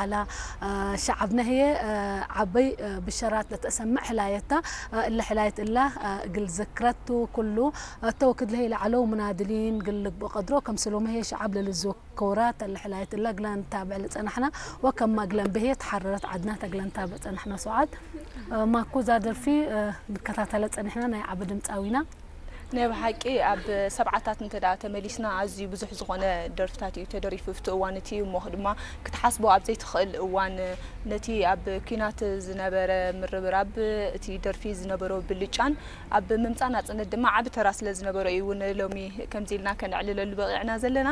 لا، آه، شعبنا هي، آه، عبي، آه، بشرات لتسمع حلايتها، آه، إلا حلاية الله، آه، قل ذكرته كله، آه، توكد له إلى علو منادلين، قل لك بقدره، كم سلوم هي شعب للزوك كورات، اللي حلاية الله قلان تابع لتسنحنا، وكم ما قلان به تحررت عدنا تقلان تابع تسنحنا سعاد. آه، ما كوزا درفي، آه، نكتاتلت سنحنا ناي عبد متاوينا. ናይ ብሓቂ ኣብ ሰብዓታት እንተ ደኣ ተመሊስና ኣዝዩ ብዙሕ ዝኾነ ደርፍታት እዩ ተደሪፉ ኣብቲ እዋን እቲ። እሞ ድማ ክትሓስቦ ኣብ ዘይትኽእል እዋን ነቲ ኣብ ኲናት ዝነበረ ምርብራብ እቲ ደርፊ ዝነበሮ ብልጫን ኣብ ምምጻእ ናጽነት ድማ ዓቢ ተራ ስለ ዝነበሮ እዩ እውን ሎሚ ከምዚ ኢልና ከነዕልለሉ በቒዕና ዘለና።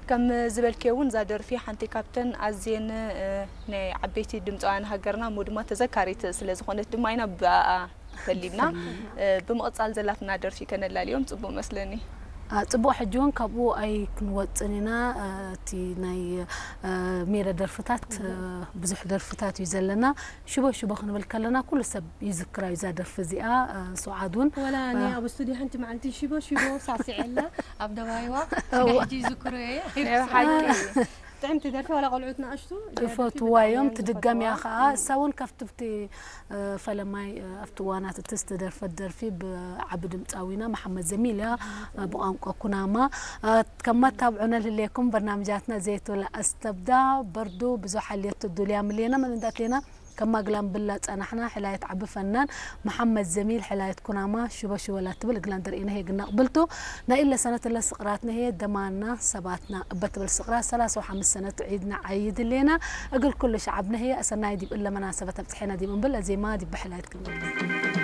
ከም ዝበልክዮ እውን እዛ ደርፊ ሓንቲ ካብተን ኣዝየን ናይ ዓበይቲ ድምፃውያን ሃገርና እሞ ድማ ተዘካሪት ስለ ዝኾነት ድማ ኢና ብኣኣ ፈሊምና። ብምቕጻል ዘላትና ደርፊ ከነላልዮም ጽቡቕ መስለኒ። ጽቡቕ፣ ሕጂ እውን ካብኡ ኣይክንወጽን ኢና። እቲ ናይ ሜረ ደርፍታት ብዙሕ ደርፍታት እዩ ዘለና። ሽቦ ሽቦ ክንብል ከለና ኩሉ ሰብ ይዝክራ እዩ እዛ ደርፊ እዚኣ። ሱዓድ እውን ወላ እኔ ኣብ ስቱዲዮ ሓንቲ መዓልቲ ሽቦ ሽቦ ሳስዐላ ኣብ ደባይዋ። ሕጂ ይዝክሮ እየ። ጥዕምቲ ደርፊ ዋላ ቆልዑት ንኣሽቱ ይፈትዋ እዮም። ትድገም እያ ከዓ። እሳ እውን ካብቲ ኣብቲ ፈለማይ ኣብቲ እዋናት እቲ ዝተደርፈት ደርፊ ብዓቢ ድምፃዊና መሓመድ ዘሚል እያ። ብቋንቋ ኩናማ። ከም መታብዑ ነልህልየኩም በርናምጃትና ዘይትብላ ኣስተብዳ በርዱ ብዙሕ ኣልየት ዱልያ ምልየና መን እንዳትሌና ከማግላን ብላ ጸናሕና። ሕላየት ዓቢ ፈናን መሓመድ ዘሚል ሕላየት ኩናማ ሽቦ ሽቦ ላትብል እግላን ደርኢና ሄግና ቅብልቱ ናይ ኢለ ሰነት እለ ስቕራትና ሄ ደማና ሰባትና እበትብል ስቕራት ሰላሳ ሓምስ ሰነት ዒድና ዓይድሌና። እግል ኩሉ ሸዓብና ሄ ኣሰናይ ዲብ እለ መናሰበት ኣብጽሐና ዲብ እምብል ኣዜማ ዲብ ብሕላየት ክንብል